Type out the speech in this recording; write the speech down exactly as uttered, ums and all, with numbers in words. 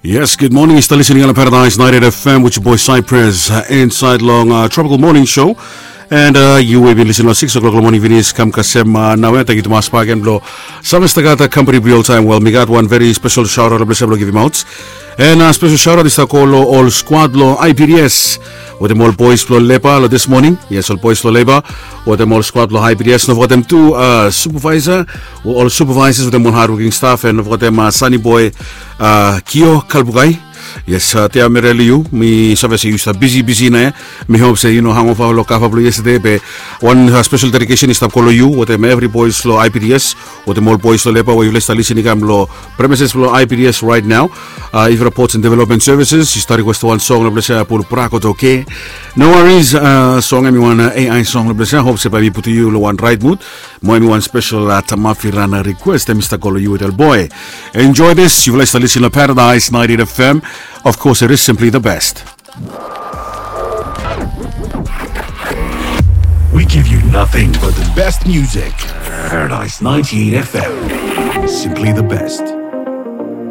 Yes, good morning. Yu stap listening long Paradise ninety-eight F M with your boy Cypress, uh, inside long, uh, Tropical Morning Show. And, uh, yu we bin listening long six o'clock long morning finis, kam kasem, uh, naoia, tangkiu tumas bak gen blo save stap gat, uh, company blo yu oltaem. Wel, mi gat wan very special shout out blo mi save blo givim aot. And, uh, special shout out i stap go lo ol squad lo I P D S wetem ol boys blo Leba lo this morning. Yes, ol boys blo Leba wetem ol squad blo I P D S. No fogetem tu, uh, supervisor, ol supervisors wetem ol hardworking staff, and no fogetem, uh, Sunny Boy, uh, Kio Kalbukai. Yes, uh, Tia Mereli, yu, mi save se yu stap bisi bisi nao ia. Mi hop se yu no hangofa lo kava blo yestede, be wan, uh, special dedication i stap go lo yu wetem evri boys lo I P D S wetem ol boys lo Leba we yufala i stap listening i kam lo premises blo I P D S right now. Uh, Ivra Ports and Development Services, yu stap request wan song lo ples ia, Pul Prako Toke. No worries, uh, song hemi wan, uh, A I song lo ples ia. Hop se bae mi putum yu lo wan right mood. Mo hemi wan special, uh, Tamafi Rana request, hemi stap go lo yu wetem ol boy. Enjoy this. Yufala i stap listening lo Paradise ninety-eight F M. Of course, it is simply the best. We give you nothing but the best music. Paradise ninety-eight F M. Simply the best.